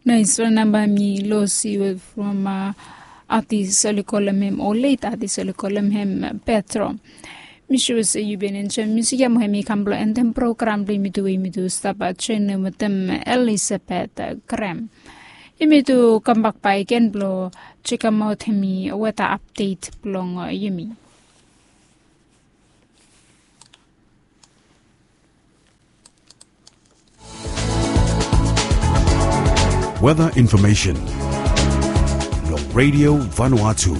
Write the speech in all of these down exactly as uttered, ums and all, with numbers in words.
Nais wan namba mi losi we from atis oli kolem hem o leit atis oli kolem hem petro. Mi sua se yu bin enjoem musik ya mo hem i kam blong entem program blong yumi tu we yumi tu stap joenem wetem elisabet grem. Yumi tu kambak bakegen blong sekemaot hem i weta apdet blong yumi. Weta infomesen long redio vanuatu.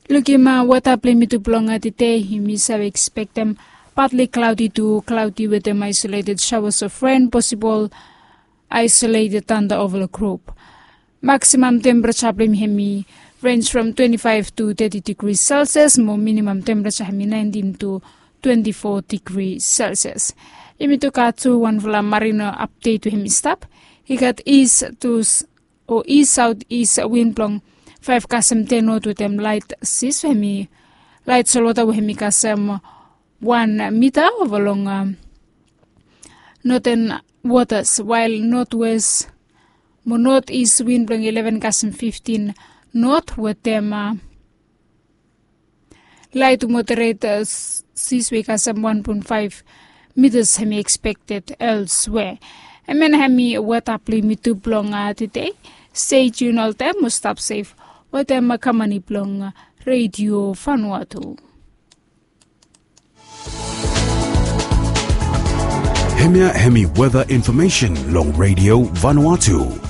Lukim weta blong yumi tu blong tede, yumi save ekspektem patli klaudi tu klaudi wetem aisoleted sawas of ren posibol aisoleted tanda ova long grup. Maksimam tempereja blong yumi hem i renj from twenti faef tu teti digri selsias mo minimam tempereja hem i naentin tu twenti fo digri selsias. Yumi tu gat tu wanfala marino apdet we hem i stap. I gat is tu o is saot is win blong faef kasem ten not wetem laet sis we hem i laet solwota we hem i kasem wan mita ova long noten wotas wael notwes mo not is win blong ileven kasem fiftin not wetem laet moderet sis we i kasem wan pon faef mitas hem i ekspekted elswe. Hem ya na hem i weta blong yumi tu blong tede. Stay tune oltaem mo stap sef wetem kamani blong redio vanuatu. Hemia hemi weta infomesen long redio vanuatu.